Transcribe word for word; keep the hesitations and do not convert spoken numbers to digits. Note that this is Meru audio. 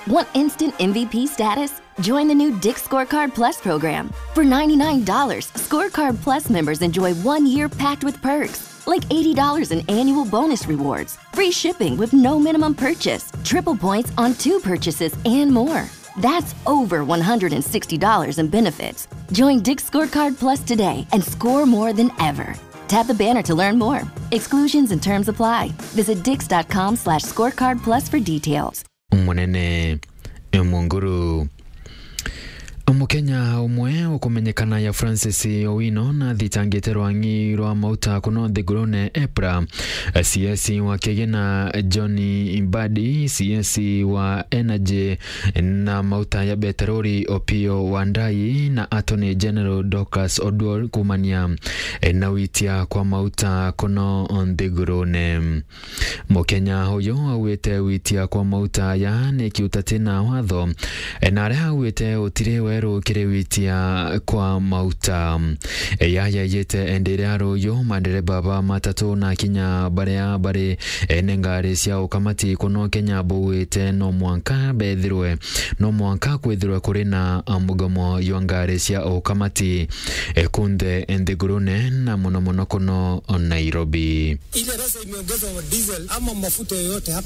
Want instant M V P status? Join the new Dick's Scorecard Plus program. For ninety-nine dollars, Scorecard Plus members enjoy one year packed with perks, like eighty dollars in annual bonus rewards, free shipping with no minimum purchase, triple points on two purchases, and more. That's over one hundred sixty dollars in benefits. Join Dick's Scorecard Plus today and score more than ever. Tap the banner to learn more. Exclusions and terms apply. Visit dicks.com slash scorecard plus for details. Munene Munguru. Mukenya umwe ukumenyekana ya Francis Owino na athitangite rwang'i rwa mauta kuno nthigurune EPRA, C S wa Kigina John Mbadi, C S wa Energy na mauta ya beterori Opiyo Wandayi na Attorney General Dorcas Oduor kumania na witia kwa mauta kuno nthigurune. Mukenya uyu augite witia kwa mauta aya ni kiuta tina watho, na aria augite utiri weru kiri witia kwa mauta. Yaya yite endere aruyu mandereba ba matatu na kinya baria bari ene ngari cia ukamati kuno Kenya bugwite no mwanka bethirwe, no mwanka kwithirwe kuri na mugomo jwa ngari cia ukamati kunthe nthigurune na muno muno kuno Nairobi. Ile pesa imeongezwa diesel ama mafuta yoyote hapa.